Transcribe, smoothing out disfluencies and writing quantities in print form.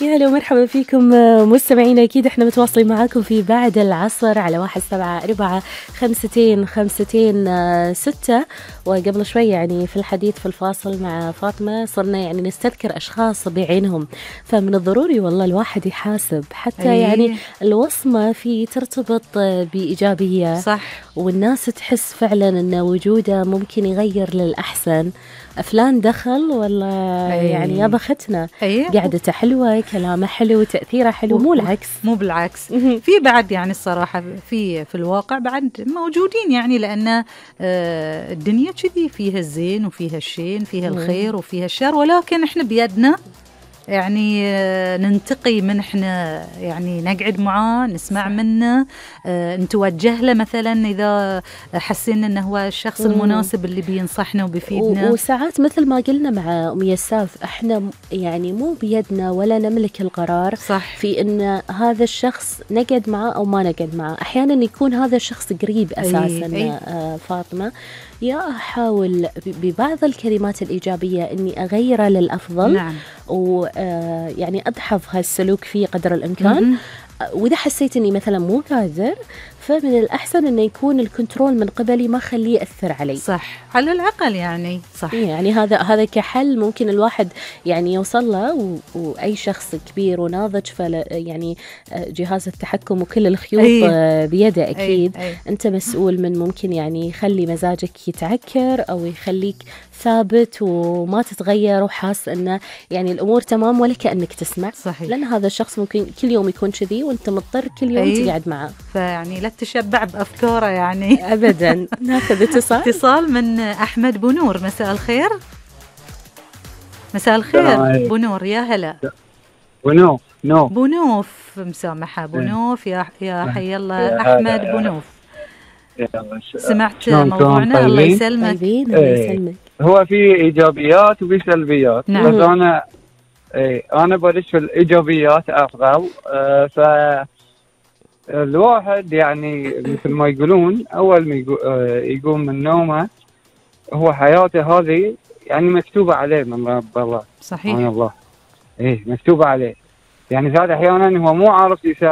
يا هلا ومرحبا فيكم مستمعينا. أكيد إحنا متواصلين معاكم في بعد العصر على 1745 وقبل شوي يعني في الحديث في الفاصل مع فاطمة صرنا يعني نستذكر أشخاص بعينهم، فمن الضروري والله الواحد يحاسب حتى يعني الوصمة في ترتبط بإيجابية، صح، والناس تحس فعلا أن وجوده ممكن يغير للأحسن. فلان دخل والله يعني يا بختنا، قعدته حلوة، كلامه حلو، تأثيره حلو، مو العكس، مو بالعكس. في بعد يعني الصراحة في الواقع بعد موجودين يعني، لأن الدنيا كذي فيها الزين وفيها الشين، فيها الخير وفيها الشر، ولكن إحنا بيدنا يعني ننتقي من إحنا يعني نقعد معاه نسمع منه، نتوجه له مثلا إذا حسينا أنه هو الشخص المناسب اللي بينصحنا وبيفيدنا. وساعات مثل ما قلنا مع أم يساف إحنا يعني مو بيدنا ولا نملك القرار، صح، في أن هذا الشخص نقعد معه أو ما نقعد معه. أحيانا يكون هذا الشخص قريب أساسا فاطمة، يا أحاول ببعض الكلمات الإيجابية أني أغيره للأفضل. نعم. ويعني أدحض هالسلوك فيه قدر الإمكان. وإذا حسيت أني مثلا مو قادر، فمن الأحسن أنه يكون الكنترول من قبلي، ما خليه يأثر علي. صح، على الأقل يعني. صح، يعني هذا كحل ممكن الواحد يعني يوصل له، وأي شخص كبير وناضج يعني جهاز التحكم وكل الخيوط بيده أكيد. أنت مسؤول من ممكن يعني يخلي مزاجك يتعكر أو يخليك ثابت وما تتغير وحاس أنه يعني الأمور تمام ولا كأنك تسمع. صحيح. لأن هذا الشخص ممكن كل يوم يكون كذي وأنت مضطر كل يوم تقعد معه، فيعني لا تشبع بأفكاره يعني أبدا. ناخذ اتصال من أحمد بونور. مساء الخير. مساء الخير بونور، يا هلا. بونوف مسامحة بونوف، يا حي الله أحمد بونوف. سمعت موضوعنا؟ الله يسلمك. الله يسلمك. هو في إيجابيات وفي سلبيات. نعم. بس أنا برش في الإيجابيات أفضل. فالواحد يعني مثل ما يقولون أول ما يقوم من نومه، هو حياته هذه يعني مكتوبة عليه من رب الله. صحيح. الله مكتوبة عليه. يعني ذات أحيانا هو مو عارف يساوي